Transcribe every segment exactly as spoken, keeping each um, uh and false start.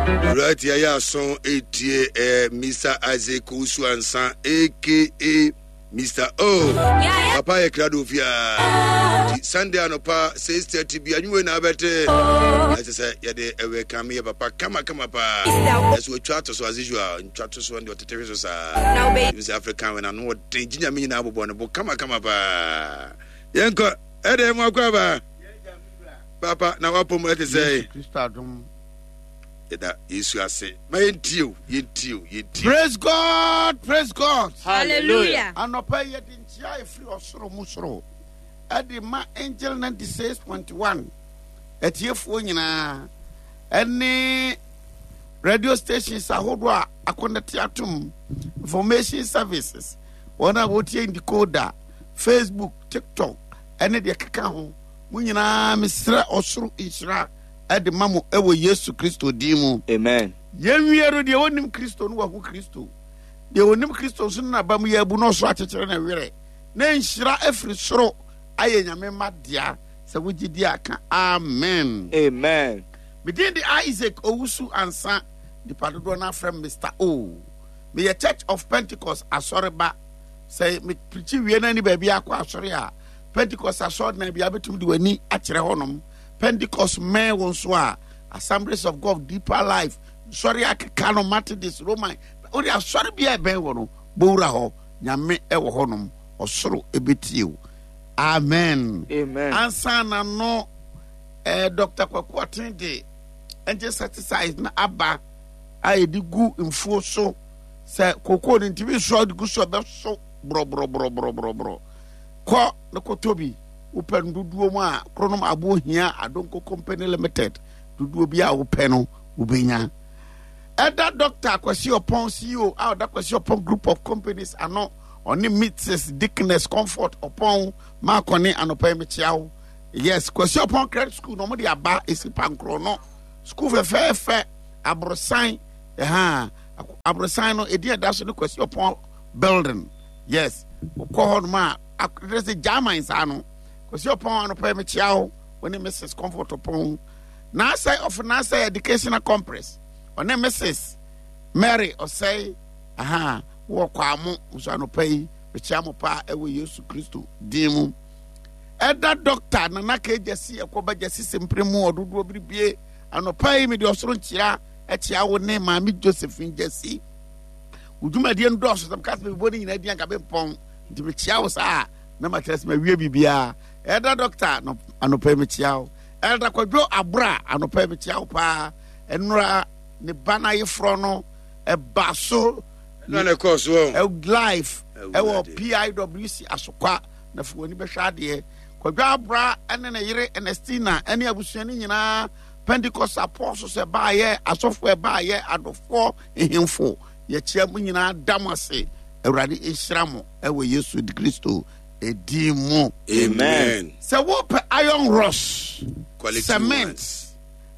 Right, yɛyɛ aso etie eh, Mister Isaac Owusu Ansa, A K A Mister O. Papa yɛ krado fiaa. Nti Sunday anɔpa six thirty bi anwummerɛ na abɛte. Ɛsɛ sɛ yɛde ɛwɛ ka meyɛ papa kama kama paa. Ɛsɛ wɔtwa ato so as usual, ntwa to so deɛ ɔtete hwe so saa. Ɛbi sɛ African wɛ n'ano ɔden gye Nyame nyinaa bobɔ ne bo kama kama paa. Yɛnkɔ ɛdɛ mu akɔ aba. Papa na wapom ɛte sɛ. Yesu Kristo adom. Yɛda Yesu ase. Ma yɛntie o, yɛntie o, yɛntie. Praise God, praise God. Hallelujah. Anɔpa yi yɛde nkyia efiri ɔsoro mu soro ɛde ma Angel ninety-six point one atiefoɔ nyinaa ɛne radio stations ahodoɔ a akɔnɛte atom, information services, wɔn a wɔtie decoder, Facebook, TikTok ɛne deɛ keka ho. Mo nyinaa mesrɛ ɔsoro nhyira ɛde ma mo ɛwɔ Yesu Kristo din mu. Amen. Yɛnwie no, deɛ wɔnim Kristo no wahu Kristo, deɛ wɔnim Kristo nso no naba mu yɛ abu na ɔsoro akyekyere ne werɛ na nhyira afiri soro ayɛ Nyame ma dea. Sɛ wogye di a, ka amen. Amen. Medin de Isaac Owusu Ansa, nipa dodoɔ no afrɛ me Mister O. Meyɛ Church of Pentecost asɔreba. Sɛ mepirikyi wie no ani baabi akɔ asɔre a, Pentecost asɔre na bia bɛtumi de w'ani akyerɛ hɔnom. Pentecost mmɛn wo nso a, Assemblies of God, Deeper Life nsɔre akeka no, Methodist, Roman, wode asɔre bi a ɛbɛn wɔ no bɔwura hɔ. Nyame ɛwɔ hɔnom, ɔsoro ɛbɛtie wo. Amen. Amen. Ansa na no eh, Doctor Kwaku Ɔten de insecticide na aba a yɛde gu mfuo so sɛ kokoo no ntumi nso a wode gu so a ɛbɛso borɔborɔborɔborɔborɔ. Kɔ ne kɔtɔ bi. Wopɛ no dodoɔ mu a, Kronom Aboɔ Hia Adonko Company Limited, dodoɔ bi a wopɛ no wobɛnya. Ɛda Doctor Kwasi Ɔpɔn, C E O a ɔda Kwasi Ɔpɔn Group of Companies ano, ɔne Missus Dickness Comfort Ɔpɔn Maakɔne, anɔpa yi mekyia wo. Yes, Kwasi Ɔpɔn Credit School na ɔmode aba ɛsi pankorɔ no, school fɛfɛɛfɛ aborosan ɛha. Aborosan no ɛdi ɛda so ne Kwasi Ɔpɔn building. Yes, wokɔ hɔ nom a akɔdɛ sɛ German saa no. Kwasi Ɔpɔn, anɔpa yi mekyia wo, wo ne Missus Comfort Ɔpɔn. Naasɛ of Naasɛ Educational Complex, ɔne Missus Mary Ɔsɛe aha wɔ Kwamo nso, anɔpa yi mekyia mo paa ɛwɔ Yesu Kristo din mu. Ɛda Doctor Nana Kegyasi ɛkɔba gyasi sempere mu ɔdodoɔ biribie, anɔpa yi mede ɔsoro nkyia ɛkyia wo ne Maame Josephine Gyasi. Wo dwumadie no dɔɔso sɛ meka sɛ mebɔ no nyinaa di anka bempɔn, nti mekyia wo saa na makyerɛ sɛ mawie biribiaa. Ɛda Doctor, anɔpa yi mekyia wo. Ɛda Kwadwo Abora, anɔpa yi mekyia wo paa. Ɛnora ne ba no ayeforɔ no ɛba so. Ɛna na ɛkɔɔ so ɔ. Ɛ- live ɛwɔ Awurade. P I W C Asokwa na fo w'ani bɛhwɛ adeɛ. Kwadwo Abora ɛne ne yere Ernestina ɛne abusua no nyinaa, Pentecost apostles ɛbaayɛ, asɔfo ɛbaayɛ, adɔfoɔ, nhemfo, yɛkyia mo nyinaa, da mo ase. Awurade nhyira mo ɛwɔ Yesu Kristo ɛdin mu. Amen. Sɛ wopɛ iron rods, quality cement, ones,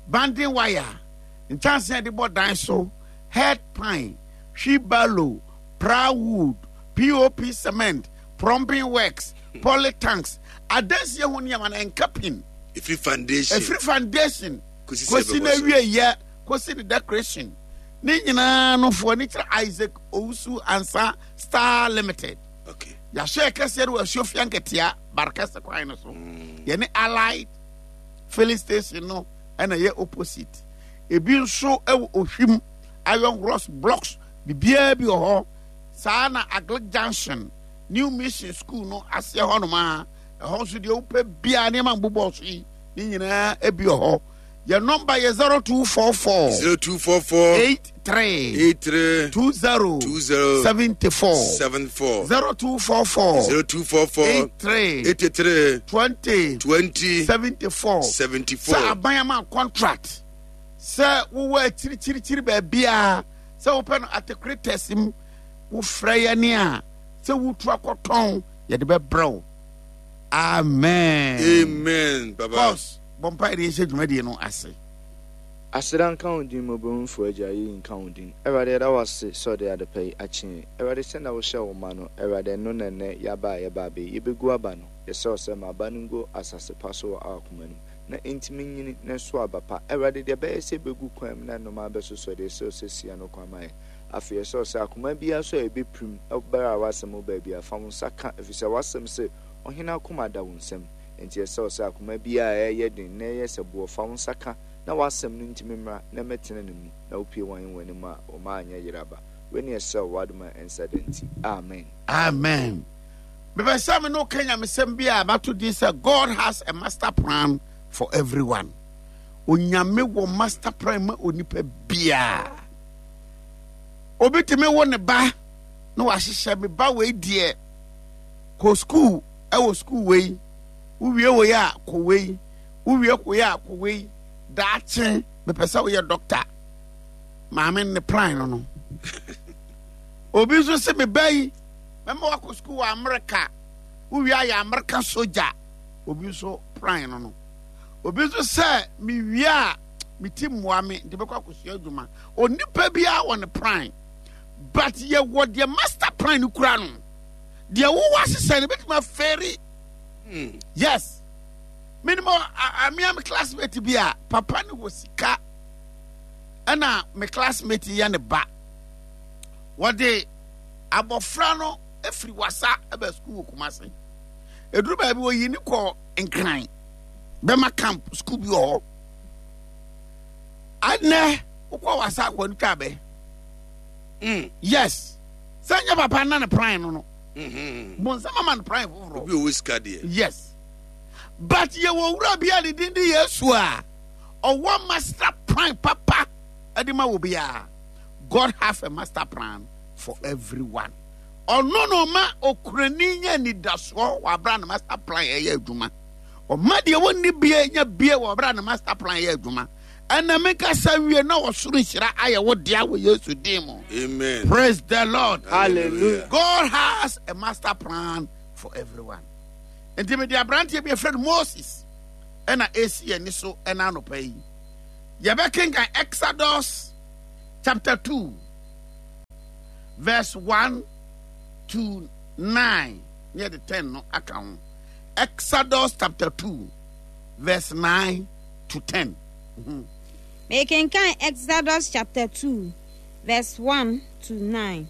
banding wire, nkyɛnse a yɛde bɔ dan so, head pan, wheelbarrow, plywood, P O P cement, plumbing works, polytanks, adansie ho nneɛma no ɛnka pin. Ɛfiri foundation. Ɛfiri foundation kɔsi sɛ kɔsi ɛbɛbɔ na so. wie yɛ kɔsi ne decoration ne nyinaa no, foɔ ne kyerɛ Isaac Owusu Ansa Star Limited. Okay. Yɛahyɛ kɛseɛ no wɔ Asuofia Nketea Barekɛse kwan no so. Yɛne Allied filling station no ɛna ɛyɛ opposite. Ebi nso ɛwɔ Ohwim, iron rods, blocks, biribiara bi wɔ hɔ saa. Na Agric Junction, New Mission School no aseɛ hɔnom a, ɛhɔ nso deɛ wopɛ biara, nneɛma mbobɔ so yi ne nyinaa ebi wɔ hɔ. Yɛn nɔmba yɛ zero two four four zero two four four eight three eight three two zero two zero seven four seven four zero two four four zero two four four eight three eighty-three twenty twenty seventy-four. seventy-four. Sɛ aban ama contract sɛ wowɔ akyirikyirikyiri baabiaa sɛ wopɛ no atekretɛs mu, wofrɛ yɛne a sɛ wotu akɔtɔn, yɛde bɛbrɛ wo. Amen. Amen, baba. Boss, bɔ mpa yɛde yɛhyɛ dwumadie no ase. Aseda nka wo din, mmɔborɔhufo Agya, yɛyi nka wo din. Awurade, yɛda wo ase sɛ ɔde adepa yi akye yɛn. Awurade, sɛnea wohyɛ wo ma no, Awurade, ɛno na nnɛ yɛaba a yɛba abɛyi. Yɛbɛgu aba no. Yɛsrɛ wo sɛ ma aba no ngu asase pa so wɔ akoma no mu. Na ɛntumi nyini na ɛso aba pa. Awurade, deɛ ɛbɛyɛ sɛ ɛbɛgu kwan mu na nnomaa bɛsosɔ deɛ, ɛsɛ sɛ si ano kwan ma yɛn. Afei ɛsɛ sɛ akoma biara so a ɛbɛpirim berɛ a w'asɛm wɔ baabi a, fa wo nsa ka, ɛfiri sɛ w'asɛm se, ɔhene akoma da wo nsam. Enti ɛsɛ sɛ akoma biara a ɛyɛ den na ɛyɛ sɛ boɔ, fa wo nsa ka na w'asɛm no ntumi mmra na ɛmmɛtena ne mu, na wopue wɔn w'anim a wɔma anyɛ yeraba. Wei ne ɛsɛ w'adom a ɛnsa da nti. Amen. Amen. Mepɛ sɛ me ne wo ka nyamesɛm bi a mato din sɛ God has a master plan for everyone. Onyame wɔ master plan ma onipa biara. Obi tumi wo ne ba na wahyehyɛ me ba wei deɛ kɔ sukuu ɛwɔ sukuu wei, wowie wei a kɔ wei, wowie kɔ a kɔ wei, daakye mepɛ sɛ woyɛ dɔkta. Maame ne plan no no. Obi nso sɛ me ba yi mɛma wakɔ sukuu wɔ Amerika, wowie ayɛ Amerika sogya. Obi nso plan no no. Obi nso sɛ mewie a me ti mmoa me nti bɛkɔ akɔsua adwuma. Onipa biara wɔ ne plan, but yɛwɔ deɛ master plan no kura no. Deɛ wowɔ ahyehyɛ no bɛtumi afɛri. Mm. Yes, menim amea me classmate bi a papa no wɔ sika, ɛna me classmate yɛ ne ba. Wɔde abɔfra no efiri Wasa ɛbɛ sukuu wɔ Kumase. Eduru baabi wɔyi ne kɔ Nkran bɛma camp sukuu bi wɔ hɔ. Anɛ wokɔ Wasa akɔ no twa bɛ. Mm. Yes, sɛ nyɛ papa na ne plan no no. Mm-hmm. Bonsam ama no plan foforɔ. Obi owó sika deɛ. Yes, but yɛwɔ wura bi a ne din de Yesu a ɔwɔ master plan papa ɛde ma wɔ biara. God have a master plan for everyone. Ɔno na ɔma okurani nya anidasoɔ wɔ abira ne master plan ɛyɛ adwuma. Ɔma deɛ wɔnni bie nya bie wɔ abira ne master plan ɛyɛ adwuma. Ɛna mi kasa wie na ɔsoro nhyira ayɛ wo dea wɔ Yesu din mu. Amen. Praise the Lord. Hallelujah. God has a master plan for everyone. Nti mede aberanteɛ bi afrɛ no Moses ɛna esi yɛn ani so ɛna anɔpa yi. Yɛbɛkenkan Exodus chapter two verse one to nine ne yɛde ten no aka ho. Exodus chapter two verse nine to ten. Mhm. Mekenkan Exodus chapter two verse one to nine.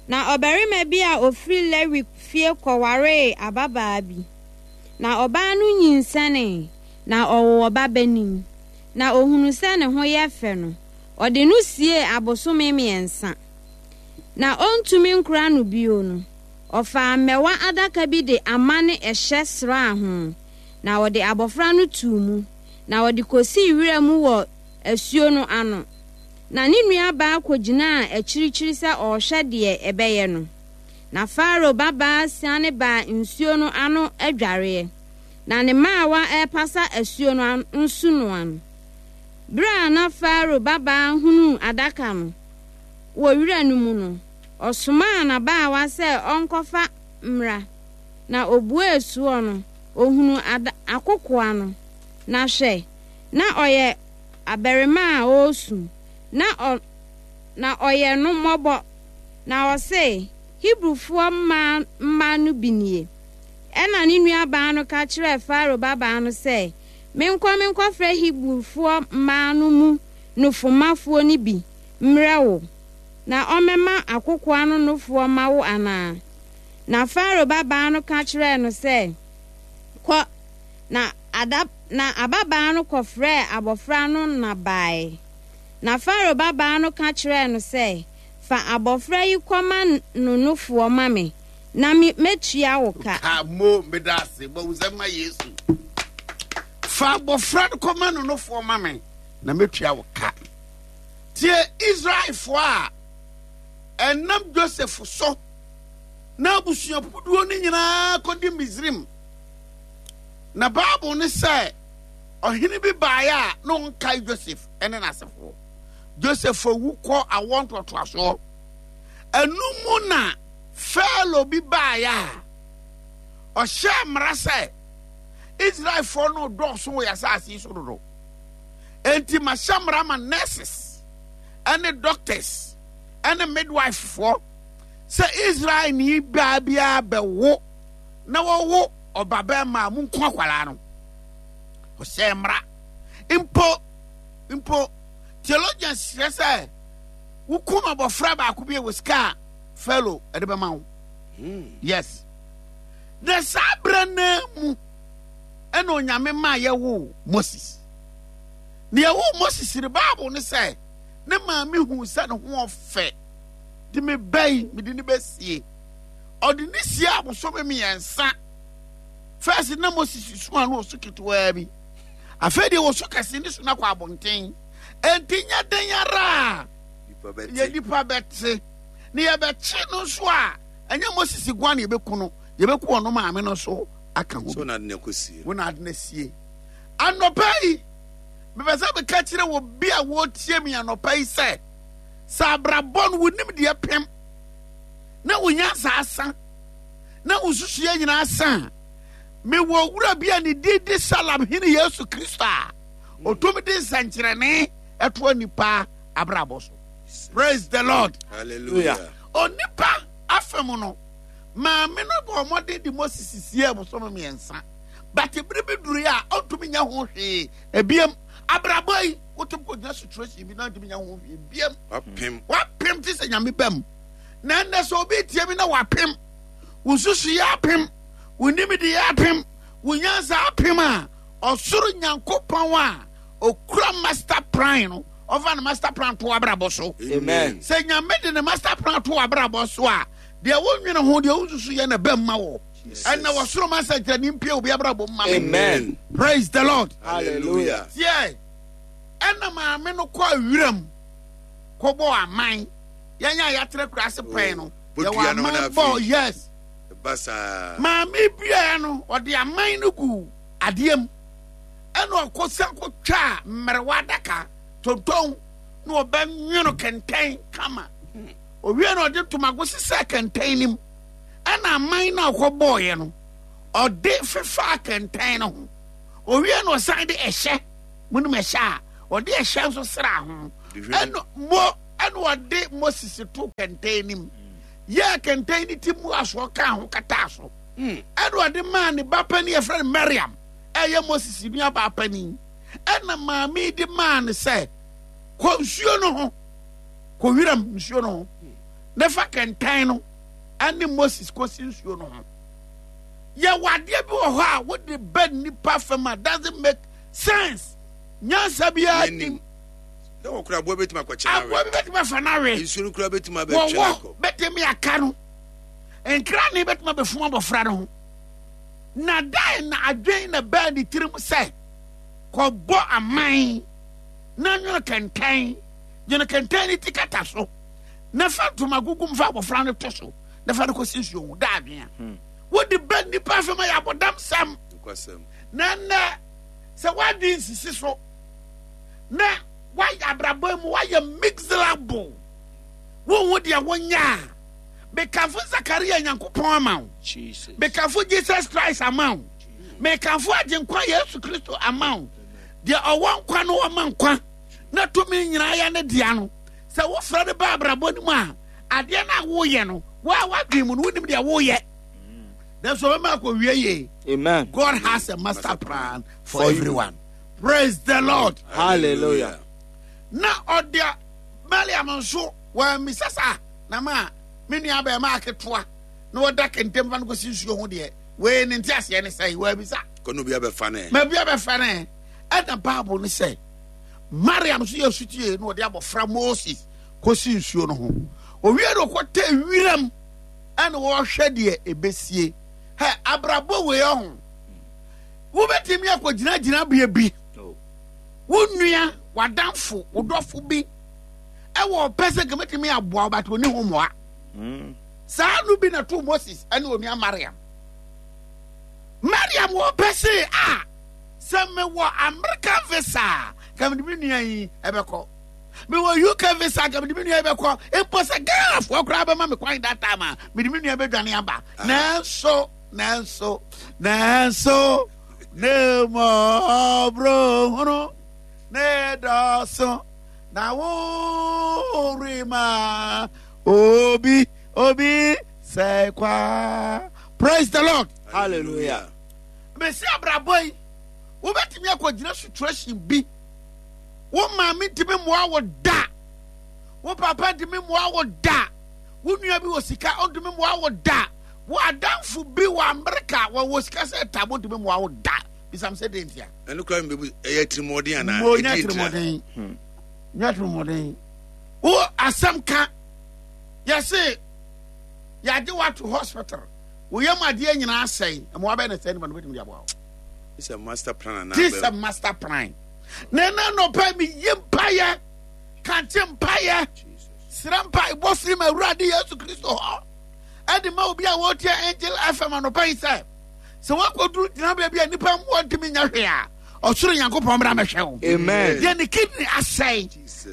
Na ɔbarima bi a ofiri Lewi fie kɔwaree ababaa bi. Na ɔbaa no nyinsɛnee, na ɔwoo ɔbabanin. Na ohunu sɛ ne ho yɛ fɛ no, ɔde no siee abosome mmiɛnsa. Na ɔntumi nkora no bio no, ɔfaa mmɛwa adaka bi de ama ne ɛhyɛ sraa ho, na ɔde abɔfra no too mu, na ɔde kosii wira mu wɔ asuo no ano. Na ne nuabaa kɔgyinaa akyirikyiri sɛ ɔrehwɛ deɛ ɛbɛyɛ no. Na Farao babaa siane baa nsuo no ano adwareɛ, na ne mmaawa repasa asuo no nsunoa no. Berɛ a na Farao babaa hunuu adaka no wɔ wira no mu no, ɔsomaa n'abaawa sɛ ɔnkɔfa mmra. Na obuee soɔ no, ohunuu ada akokoa no. Na hwɛ, na ɔyɛ abarimaa a ɔresu, na ɔ na ɔyɛ no mmɔbɔ. Na ɔse, Hebrifoɔ mmaa mma no bi nie. Ɛna ne nuabaa no ka kyerɛɛ Farao babaa no sɛ, menkɔ menkɔfrɛ Hebrifoɔ mmaa no mu nufomafoɔ no bi mmerɛ wo, na ɔmmɛma akokoa no nofoɔ ma wo anaa? Na Farao babaa no ka kyerɛɛ no sɛ, kɔ. Na ada na ababaa no kɔfrɛɛ abɔfra no na bae. Na Farao babaa no ka kyerɛɛ no sɛ, fa abɔfra yi kɔma no nofoɔ ma me, na me mɛtua wo ka. Ka mo meda ase bɔ wo nsɛm ma Yesu. Fa abɔfra no kɔma no nofoɔ ma me, na mɛtua wo ka. Tie Israelfoɔ a ɛnam Joseph so na abusuakuo no nyinaa kɔdi Misrim. Na Bible ne sɛ ɔhene bi baeɛ a na ɔnkae Joseph ne n'asefoɔ. Joseph awu kɔ awoɔ ntoatoasoɔ. Ɛno mu na Farao bi baeɛ a ɔhyɛɛ mmara sɛ Israelfoɔ no dɔɔso wɔ yɛn asase yi so dodo. Enti mahyɛ mmara ma nurses ne doctors ne midwifefoɔ sɛ Israelni baa biara bɛwo na wɔwo ɔbabarima a monku akwadaa no. Ɔhyɛ mmara. Mpo mpo theologians kyerɛ sɛ wokum abɔfra baako bi a wɔ sika a fellow ɛde bɛma wo. Hmm. Yes. Na saa berɛ no mu ɛna Onyame maa yɛwoo Moses. Na yɛwoo Moses no, Bible ne sɛ ne maame huu sɛ ne ho ɔfɛ de me bɛyi mede ne bɛsie. Ɔde ne sie abosome mmiɛnsa. First na Moses su a na ɔsu ketewaa bi. Afei deɛ ɔsu kɛse ne su no akɔ abɔnten. Enti nyɛ den ara a yɛ nipa bɛte. Na yɛbɛkye no nso a, ɛnyɛ Moses guan na yɛbɛku no, yɛbɛku ɔno maame no nso aka ho. So na ade no akɔsie. Wo na ade no asie. Anɔpa yi, mepɛ sɛ meka kyerɛ wɔ bi a wɔretie me anɔpa yi sɛ, sɛ abrabɔ no wonim deɛ pem na wo nyansa asa na wo nsusuiɛ nyinaa asa a, mewɔ wura bi a ne din de Salem Hene Yesu Kristo a ɔtumi de nsɛnkyerɛnne ɛtoa nipa abrabɔ so. Praise the Lord. Hallelujah. Onipa afam no, maame no bɔ mmɔden de Moses sie abosome mmiɛnsa. But bere bi duru a ɔntumi nyɛ ho hwee. Ebiem, abrabɔ yi, wotumi kɔgyina situation bi na ɔntumi nyɛ ho hwee biem. Wapem. Wapem te sɛ Nyame bam. Na ɛnnɛ sɛ obi tie mi na wapem, wo nsusuiɛ apem, wo nimdeɛ apem, wo nyansa apem a, ɔsoro Nyankopɔn a okura master plan no, ɔfa ne master plan to abrabɔ so. Amen. Sɛ Nyame de ne master plan to abrabɔ so a, deɛ wonwene ho, deɛ wonsusu yɛ na ɛbɛm ma wɔ. Ɛnna wɔsoro ma nsɛnkyerɛnne mpie obi abrabɔ mu ma me. Amen. Praise the Lord. Hallelujah. Tiɛ, ɛnna maame no kɔ awiram kɔbɔ aman. Yɛn a yɛatena kura ase pɛn no, yɛwɔ aman bɔ, yes. Basaa. Maame biara no, ɔde aman no gu adeɛ mu. Ɛnna ɔkɔsa kɔtwaa mmerewa adaka tonton na ɔbɛnwono kɛntɛn kama. Owie na ɔde ntomago sesɛɛ kɛntɛn no mu. Ɛnna aman no a ɔkɔbɔɔeɛ no, ɔde fefaa kɛntɛn no ho. Owie na ɔsan de ɛhyɛ, monim ɛhyɛ a, ɔde ɛhyɛ nso sraa ho. Ɛnna mo ɛnna ɔde Moses to kɛntɛn no mu. Yɛɛ kɛntɛn no ti mu asoɔ kaa ho kataa so. Ɛnna ɔde maa ne ba panin yɛfrɛ no Mariam, ɛyɛ Moses nuabaa panin. Ɛnna maame yi de maa no sɛ, kɔ nsuo no ho, kɔ wiram nsuo no ho, na fa kɛntɛn no ɛne Moses kɔsi nsuo no ho. Yɛwɔ adeɛ bi wɔ hɔ a wode ba nnipa fam a doesn't make sense. Nyansa biara nim. Na wɔkora aboa bɛtumi akɔkyɛ no Aboa bi bɛtumi afa no awe. Nsuo no kora bɛtumi abɛtwe Wɔwɔ akɔ. bɛtumi aka no. Nkrane bɛtumi abɛfum abɔfra no ho. Na dan na adwen na bɛɛ ne tirim sɛ kɔbɔ aman na nwono kɛntɛn, nwono kɛntɛn ne ti kata so na fa ntoma gugu mu fa abɔfra no to so na fa no kɔsi nsuo ho da adwen a Hmm. wode bɛ nnipa fam ayɛ abɔdam sɛm. Na nnɛ sɛ woadwen sisi so na woayɛ abrabɔ mu woayɛ mixable, wohu deɛ wonya a, mekamfo Zakaria Nyankopɔn ama wo, mekamfo Jesus Christ ama wo, mekamfo Agyenkwa Yesu Kristo ama wo. Deɛ ɔwɔ nkwa no ɔma nkwa na tumi nyinaa yɛ ne dea no, sɛ wofrɛ no ba abrabɔ no mu a, adeɛ no a woyɛ no, wo a woadwen mu no, wonim deɛ woyɛ. Nanso ɔbɛma akɔwie yie. Amen. God has a master plan for, for everyone. Praise the Lord. Hallelujah. Na ɔde Mariam nso wɔammisa saa na ma me nua bɛrima aketewa na wɔda kɛntɛm fa no kɔsi nsuo ho deɛ wei ne nte aseɛ ne sɛe wɔabisa. Kɔno bi abɛfa ne. Ma bi abɛfa ne. Ɛna Bible ne sɛ Mariam nso yɛ sutie na ɔde abɔfra Moses kɔsi nsuo no ho. Owie no ɔkɔtɛ wiram ɛna wɔhwɛ deɛ ɛbɛsie. Hɛ abrabɔ wei ɔho. Wobɛtumi akɔgyina gyinabea bi. Wo nua, w'adamfo, wo dɔfo bi ɛwɔ ɔpɛ sɛ nka mɛtumi aboa wo but ɔni ho mmoa. Saa no bi na to Moses ɛne onua Mariam. Mariam wɔ ɔpɛ se a sɛ mewɔ American visa a nka mede me nua yi ɛbɛkɔ. Mewɔ U K visa nka mede me nua yi bɛkɔ. Mpo sɛ Ghanafoɔ koraa bɛma me kwan that time a mede me nua bɛdwane aba. Nanso nanso nanso ne mmɔborɔhunu ne dɔso na worema obi obi sɛ kwa. Praise the Lord. Hallelujah. Mesi abrabɔ yi Wobɛtumi akɔgyina situation bi. Wo maame ntumi mmoa wo da. Wo papa ntumi mmoa wo da. Wo nua bi wɔ sika ɔntumi mmoa wo da. Wo adamfo bi wɔ Amerika wɔwɔ sika sɛ tabo ntumi mmoa wo da. Bisam sɛ den tia. Ɛno kora mbebu ɛyɛ tirimɔden anaa? Mo nya tirimɔden. Nya tirimɔden. Wo asɛm ka yɛse yɛagye wo ato hospital. Wo yam adeɛ nyinaa asɛe. Mmoa bɛyɛ na sɛ nipa no bɛtumi de aboa wo. This a master plan anaa? This a master plan. Na ɛna nɔpɛ mi yi mpaeɛ kankye mpaeɛ srɛ mpae bɔ firi ma Awurade Yesu Kristo hɔ ɛde ma obi a wɔretie Angel F M anɔpa yi sɛ sɛ woakɔduru gyinabea bi a nnipa mmoa ntumi nyɛ hwee a ɔsoro Nyankopɔn mmra mɛhwɛ wo. Amen. Deɛ ne kidney asɛe,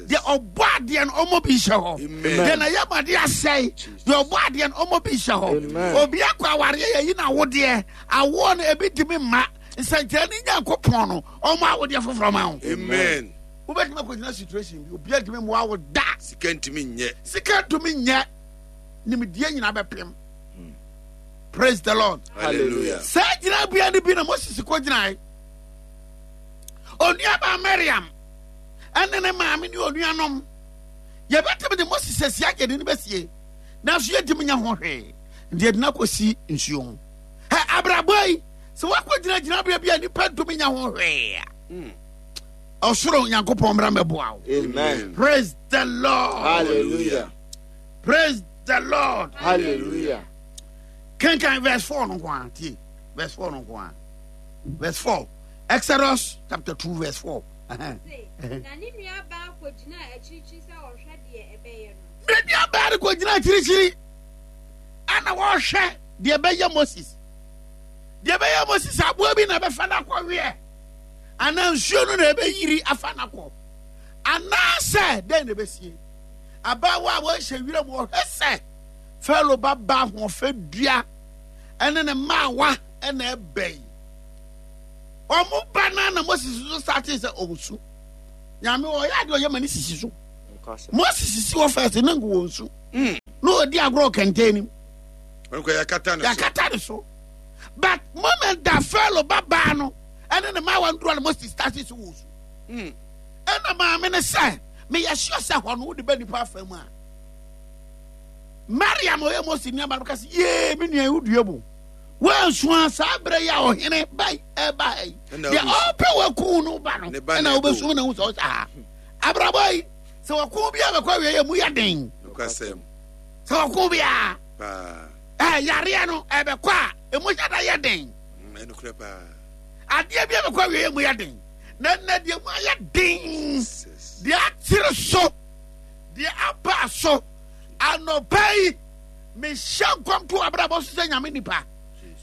deɛ ɔbɔ adeɛ no ɔmmɔ bi nhyɛ hɔ. Deɛ na yɛm adeɛ asɛe, deɛ ɔbɔ adeɛ no ɔmmɔ bi nhyɛ hɔ. Obi akɔ awareɛ yɛyi no awodeɛ, awoɔ no ebi ntumi mma nsɛnkyerɛ ne Nyankopɔn no ɔmmɔ awodeɛ foforɔ ma wo. Amen. Wobɛtumi akɔgyina situation bi obi ntumi mmoa wo da. Sika ntumi nyɛ. Sika ntumi nyɛ. Nimdeɛ nyinaa bɛpem. Praise the Lord. Hallelujah. Saa gyinabea no bi na Moses kɔgyinae. Onuabaa Miriam ɛne ne maame ne onuanom yɛbɛtumi de Moses asi agye de no bɛsie nanso yɛntumi nya ho hwee nti yɛde no akɔsi nsuo ho. Hɛ abrabɔ yi sɛ woakɔgyina gyinabea bi a nnipa ntumi nya ho hwee a ɔsoro Nyankopɔn mmra mmɛboa wo. Amen. Praise the Lord. Hallelujah. Praise the Lord. Hallelujah. Kenkan verse four no nko ara tie. Verse four no nko ara. Verse four. Exodus chapter two verse four. Na ne nua baa kɔgyina akyirikyiri sɛ ɔhwɛ deɛ ɛbɛyɛ no. Ne nua baa no kɔgyina akyirikyiri ɛna wɔhwɛ deɛ ɛbɛyɛ Moses. Deɛ ɛbɛyɛ Moses aboa bi na ɛbɛfa no akɔweɛ anaa nsuo no na ɛbɛyiri afa no akɔ anaasɛ dɛn na ɛbɛsie. Abaawa a wɔhyɛ wiram wɔhwɛ sɛ Farao ba ba ahoɔfɛ dua ɛne ne mmaawa ɛna ɛbɛn. Ɔmo ba na na Moses nso starte sɛ ɔnsu. Nyame ɔyɛ adeɛ ɔyɛ ma ne sisi so. Moses sisi wɔ fɛs ne nko wɔ nsu. Na ɔdi agorɔ kɛntɛn nim. Yɛakata ne so. Yɛakata ne so. But moment da Farao ba baa no ɛne ne mmaawa ndura na Moses starte sɛ wɔ nsu. Ɛna maame ne sɛ meyɛ sure sɛ hɔ no wode bɛ nipa afa mu a. Mariam ɔyɛ Moses nua ba no ka sɛ yee me nua yi wodua bu. Wɔnsua saa berɛ yi a ɔhene ba ɛba yi deɛ ɔpɛ wɔku no ba no ɛna wobɛsum na wo sɛ ɔhyɛ ha. Abrabɔ yi sɛ wɔko bi a bɛkɔ awie yɛ mu yɛ den. Sɛ wɔko bi a ɛ yareɛ no ɛbɛkɔ a emu hyɛ da yɛ den. Adeɛ bi a bɛkɔ awie yɛ mu yɛ den. Na ɛnna deɛ mu ayɛ den deɛ akyere so deɛ aba so anɔpa yi mehyɛ nkɔm to abrabɔ so sɛ Nyame nipa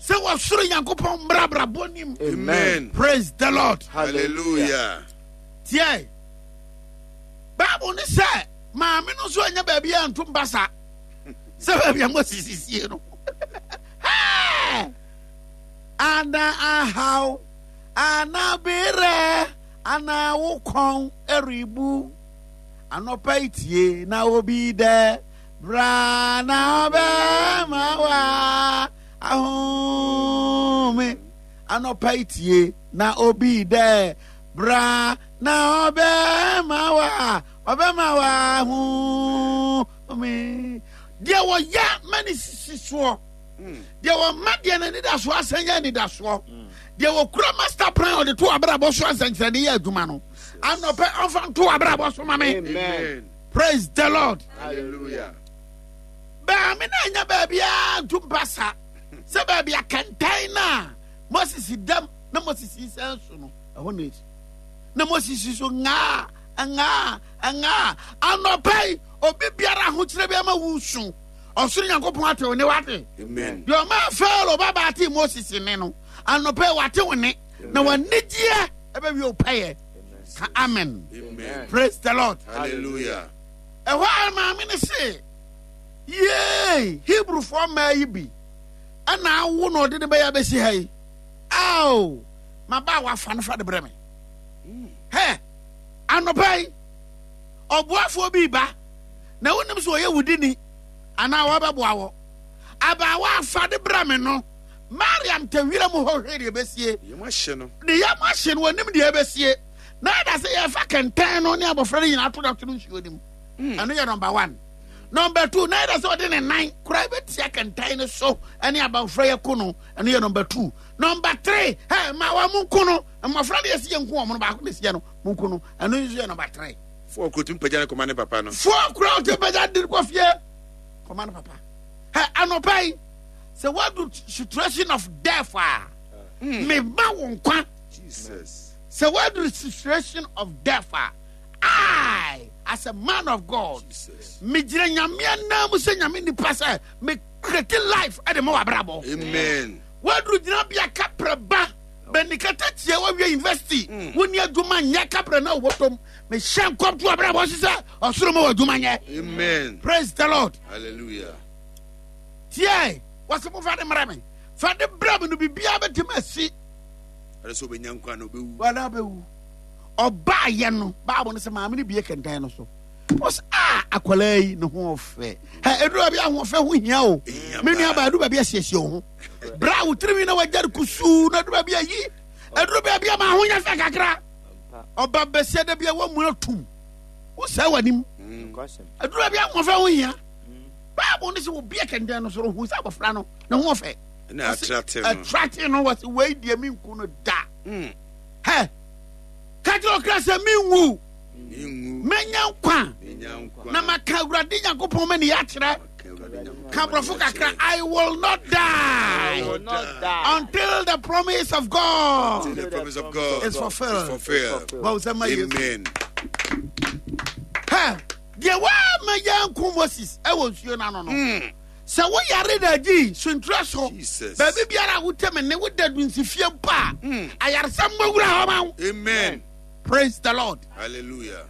sɛ wɔsoro Nyankopɔn mmra abrabɔ nim. Amen. Praise the Lord. Hallelujah. Tie. Bible ne sɛ maame no nso anya baabi a ntom basa sɛ baabi a Moses sie no. Hey! Ana ahaw ana berɛ ana wo kɔn eribu anɔpa yi tie na obi dɛ bra na ɔbɛma wa ahome anɔpa yi tie na obi dɛ bra na ɔbɛma wa ɔbɛma wa ahome deɛ wɔyɛ ma ne sisi soɔ deɛ wɔma deɛ n'anidasoɔ asɛn yɛ anidasoɔ deɛ wɔkura master plan ɔde to abrabɔ so asɛnkyerɛnne yɛ adwuma no anɔpɛ ɔmfa nto abrabɔ so ma me. Amen. Praise the Lord. Hallelujah. Baame na anya baabi a nto mpasa sɛ baabi akɛntɛn na Moses dam na Moses yi sɛn so no ɛhɔ na esi na Moses so ngaa ngaa ngaa anɔpɛ yi obi biara ahokyerɛ bi ama wusu ɔsoro Nyankopɔn ate wo ne wate. Amen. Deɛ ɔma Farao ba ba ate Moses ne no anɔpɛ yi wate wo ne na wanigyeɛ ɛbɛwie wo pɛyɛ. Ka amen. Amen. Praise the Lord. Hallelujah. Ɛhɔ a maame ne se yee Hebrewfoɔ mmaa yi bi ɛna awo na ɔde ne bɛyɛ abɛsi ha yi ao ma ba a wafa no fa de brɛ me. Hɛ anɔpa yi ɔboafoɔ bi ba na wonim sɛ ɔyɛ wudini anaa wɔbɛboa wɔ abaawa afa de brɛ me no Mariam te wira mu hɔ hwɛ deɛ ɛbɛsie. Ne yam ahye no, wɔnim deɛ ɛbɛsie. Na ɛda sɛ yɛfa kɛntɛn no ne abɔfra no nyinaa to da to no nsuo no mu. Ɛno yɛ number one. Number two, na ɛda sɛ ɔde ne nan koraa bɛtia kɛntɛn no so ne abɔfra yɛ ko no. Ɛno yɛ number two. Number three, ɛ ma wɔn mo nko no. Mmɔfra deɛ ɛsi yɛ nko wɔn no baako na ɛsi yɛ no mo nko no. Ɛno nso yɛ number three. Four kuro tumi pagya ne kɔma ne papa no. Four kuro tumi pagya de kɔ fie kɔma ne papa. Ɛ anɔpa yi sɛ wadu situation of death a, mema wo nkwa. Jesus. Sɛ wadu situation of death a, I as a man of God, megyina Nyame anan mu sɛ Nyame nipa sɛ me create life ɛde ma w'abrabɔ. Amen. Waduru gyinabea kaprɛ ba bɛnikata tia wawie university, wonni adwuma nyɛ kaprɛ na wobɔtɔm. Mehyɛ nkɔm to w'abrabɔ so sɛ ɔsoro ma w'adwuma nyɛ. Amen. Praise the Lord. Hallelujah. Tie, wɔsɛ mo fa de mmerɛ me. Fa de brɛ me no biribiara bɛtumi asi. Ɛsɛ sɛ ɔbɛnya nkwa na ɔbɛwu. Wɔn abɛwu. Ɔbaayɛ no, Bible no sɛ maame no bie kɛntɛn no so. Ɔsɛ a akwadaa yi ne ho ɔfɛ. Hɛ eduru baabi ahoɔfɛ ho hia o. Me nua baa eduru baabi asiesie wo ho. Bra wo tirinwi na wagya no kusuu na eduru baabi ayi. Eduru baabi ama ho nyɛ fɛ kakra. Ɔba bɛsia da bi a wɔn mu atum. Wosɛe w'anim. Eduru baabi ahoɔfɛ ho hia. Bible no sɛ wɔbie kɛntɛn no so no hu sɛ abɔfra no ne ho ɔfɛ. Ɛna atrate no. Atrate no wɔsi wei deɛ mi nku no da. Hɛ ka kyerɛ ɔkra sɛ menwu, mɛnya nkwa na maka Awurade Nyankopɔn ma ne akyerɛ. Ka borɔfo kakra, I will not die, I will not die until the promise of God, until the promise of God is fulfilled. Is fulfilled. Amen. Hɛ deɛ wɔama yɛnko Moses ɛwɔ nsuo no ano no. Sɛ woyare da agyi suntura so, baabi biara a wote me ne woda dunsifie mpo a, ayaresa mmɔ wura hɔ ma wo. Amen. Praise the Lord. Hallelujah.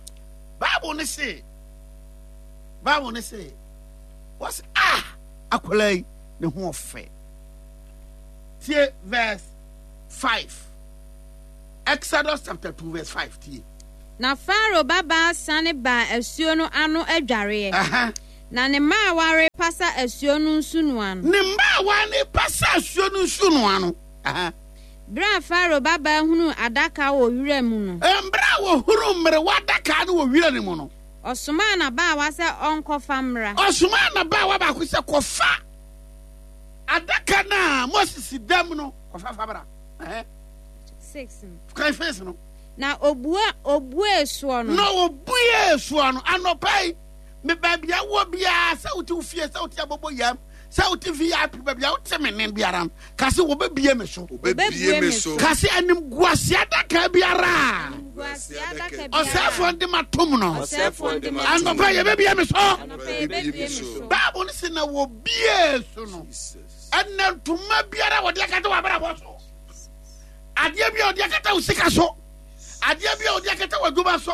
Bible ne se, Bible ne se, wɔsi ah akwadaa yi ne ho ɔfɛ. Tie verse five. Exodus chapter two verse five tie. Na Pharaoh babaa sane baa asuo no ano adwareɛ. Uh-huh. Na ne mmaawa repasa asuo no nsunoa no. Ne mmaawa ne pasa asuo no nsunoa no. Uh-huh. Berɛ a Pharaoh babaa hunuu adaka wɔ wira mu no. Mmerɛ a wɔhunuu mmerewa adaka no wɔ wira no mu no. Ɔsomaa n'abaawa sɛ ɔnkɔfa mmra. Ɔsomaa n'abaawa baako sɛ kɔfa adaka no a Moses da mu no kɔfa fa bra. Uh-huh. Six. Kan face no. Na obua obue soɔ no. Na obue soɔ no anɔpa yi. Me baabi a wɔ biara sɛ wote wo fie sɛ wote abobo yam sɛ wote V I P baabi a wote me ne biara no ka sɛ wɔbɛbie me so. Wɔbɛbie me so. Ka sɛ animguase adaka biara ɔsɛefoɔ de ma tom no anɔpa yɛbɛbie me so. Bible no sɛ na wɔbie so no ɛnɛ ntoma biara wɔde akata w'abrabɔ so, adeɛ bi a wɔde akata wo sika so, adeɛ bi a wɔde akata w'adwuma so,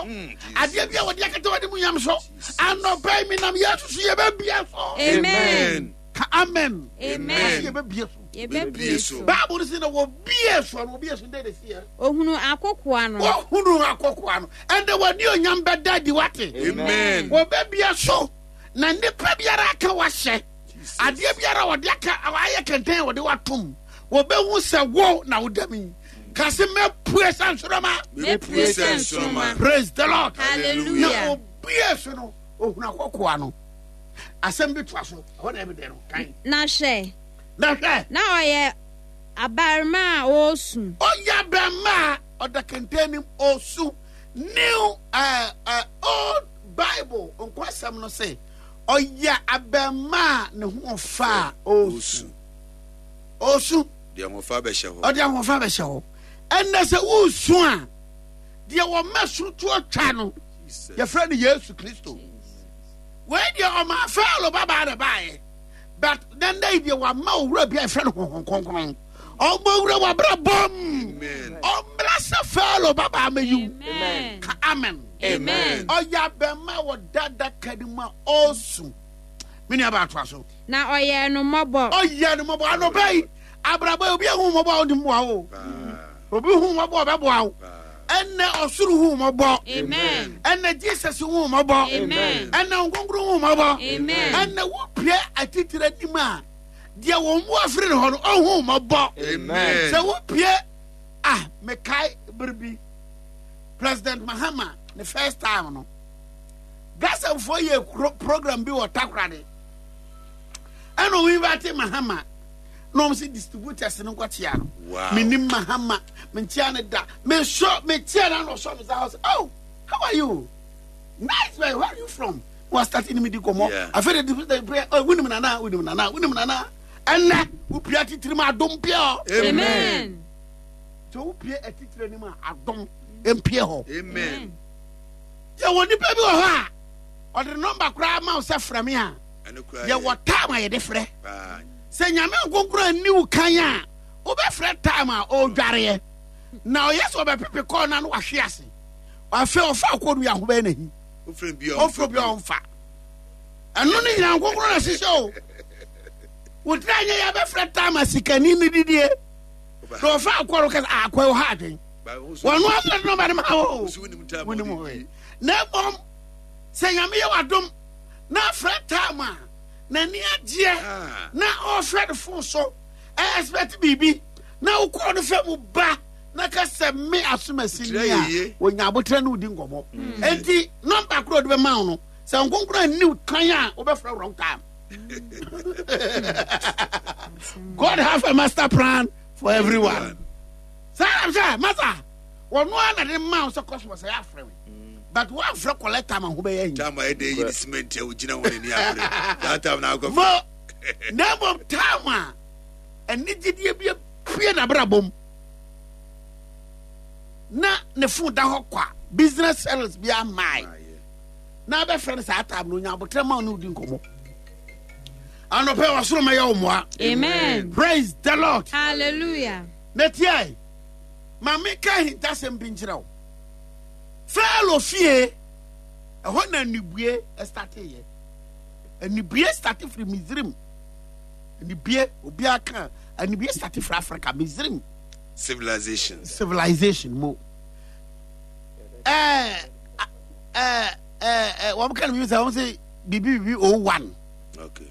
adeɛ bi a wɔde akata w'animuonyam so, anɔpa yi menam Yesu so yɛbɛbie so. Amen. Ka amen. Amen. Yɛbɛbie so. Yɛbɛbie so. Bible no sɛ na wɔbie so no wɔbie so dɛn na ɛsi yɛ? Ohunu akokoa no. Ohunu akokoa no. Ɛnna w'ani onyam bɛda adi wate. Amen. Wɔbɛbie so na nipa biara aka wahyɛ. Adeɛ biara wɔde aka ayɛ kɛntɛn a wɔde watom. Wɔbɛhu sɛ wo na woda mi. Kasi mɛpue sɛ nsoroma. Mɛpue sɛ nsoroma. Praise the Lord. Hallelujah. Na obie so no ohunu akokoa no. Asɛm bi toa so. Ɛhɔ na ɛbi dɛ no kan. Na hwɛ. Na hwɛ. Na ɔyɛ abarima a ɔresu. Ɔyɛ abarima a ɔda kɛntɛn nim ɔresu. New uh, uh, old Bible nkwasɛm no sɛ ɔyɛ abarima a ne ho ɔfa a ɔresu. Ɔresu. Deɛ ahoɔfa bɛhyɛ hɔ. Ɔde ahoɔfa bɛhyɛ hɔ. Ɛnna sɛ woresu a, deɛ wɔma surutuo twa no, yɛfrɛ no Yesu Kristo. Wei deɛ ɔma Farao babaa na baeɛ, but nanda yi deɛ wama owura bi a yɛfrɛ no Honhom Kronkron. Ɔmmɔ wura wabra bɔm. Ɔmmra sɛ Farao babaa mɛyiw. Ka amen. Amen. Ɔyɛ abɛma wɔ dada kadi mu a ɔresu. Me nua baa toa so. Na ɔyɛɛ no mmɔbɔ. Ɔyɛɛ no mmɔbɔ. Anɔpa yi, abrabɔ yi, obi ehu mmɔbɔ a ɔde mmoa wo. Obi hu mmɔbɔ a ɔbɛboa wo. Ɛnɛ ɔsoro hu mmɔbɔ. Amen. Ɛnɛ Jesus hu mmɔbɔ. Amen. Ɛnɛ Nkonkron hu mmɔbɔ. Amen. Ɛnɛ wopie atitire anim a Deɛ wɔn mu afiri ne hɔ no, ɔnhu mmɔbɔ. Amen. Sɛ wopie ah mekae bere bi President Mahama ne first time no, Gasamfoɔ yɛ kuro program bi wɔ Takoradi, ɛna wɔn invite Mahama na wɔn sɛ distributors no nkɔkyea no. Wow. Menim Mahama, menkyea ne da, mesɔ mekyea no, ana ɔsɔ me sa hɔ sɛ, "Oh, how are you? Nice man, where are you from?" Wa start ne me di nkɔmmɔ. Yeah. Afei de distributor pray, "Oh, wonim nana, wonim nana, wonim nana." Ɛnɛ wopia titiri mu, adom pia hɔ. Amen. Sɛ wopie atitire anim a, adom mpie hɔ. Amen. Yɛwɔ nipa bi wɔ hɔ a ɔde nɔmba koraa ma wo sɛ frɛ me a, Ɛno koraa yɛwɔ yɛ time a yɛde frɛ. Paa. Sɛ Nyame nkonkoro anni wo kan a, wobɛfrɛ time a ɔredwareɛ na ɔyɛ sɛ ɔbɛpepe kɔɔ no, na wahwe ase. Afei ɔfa kɔɔ no yɛ ahobɛyɛ n'ahi. Wofrɛ bi a, ɔmfrɛ bi a ɔmfa. Ɛno ne nyina nkonkoro na hyehyɛ o. Wotira nyɛ yɛbɛfrɛ time a sikani no didie na ɔfa akɔɔ no kɛsɛ akɔɛ wɔ ha adwen wɔno asɛ de nɔmba no ma wo. Wonim time a wonim ɔde hɔ di. Na mmom sɛ Nyame yɛ w'adom na afrɛ time a n'ani agyeɛ Ah. na ɔhwɛ ne phone so ɛ expect biribi na wokɔɔ no fɛ mu ba na ka sɛ me asomasi Tira ni yɛ yie. a, wɔnya abotrɛ ne wodi nkɔmmɔ. Enti nɔmba korɔ ɔde bɛma wo no, sɛ nkonkoro anni wo kan a, wobɛfrɛ wrong time. God have a master plan for everyone. Saa na sɛ masa wɔno a na de ma wo sɛ customers ɛyɛ afrɛ me, but woamfrɛ collect time a ho bɛyɛ ahi. Time a ɛde yi ne cement a wogyina hɔ n'ani abere, that time na akɔ. Mo na mmom time a anigyedeɛ bi apue n'abrabɔ mu na ne phone da hɔ kwa, business sales bi amae na abɛfrɛ no saa time no, onya abotrɛ ma wo ne wodi nkɔmmɔ. Anɔpɛ wɔsoro mɛyɛ wo mmoa. Amen. Praise the Lord. Hallelujah. Na tiɛ, ma meka ahintasɛm bi nkyerɛ wo. Farao fie ɛhɔ na anibue starteyɛ. Anibue start firi Misrim. Anibue, obiara ka anibue start firi Africa, Misrim. Civilization. Civilization mu ɛɛ ɛɛ ɛɛ wɔn ka no bibi sɛ wɔn sɛ bibi bibi o one. Okay.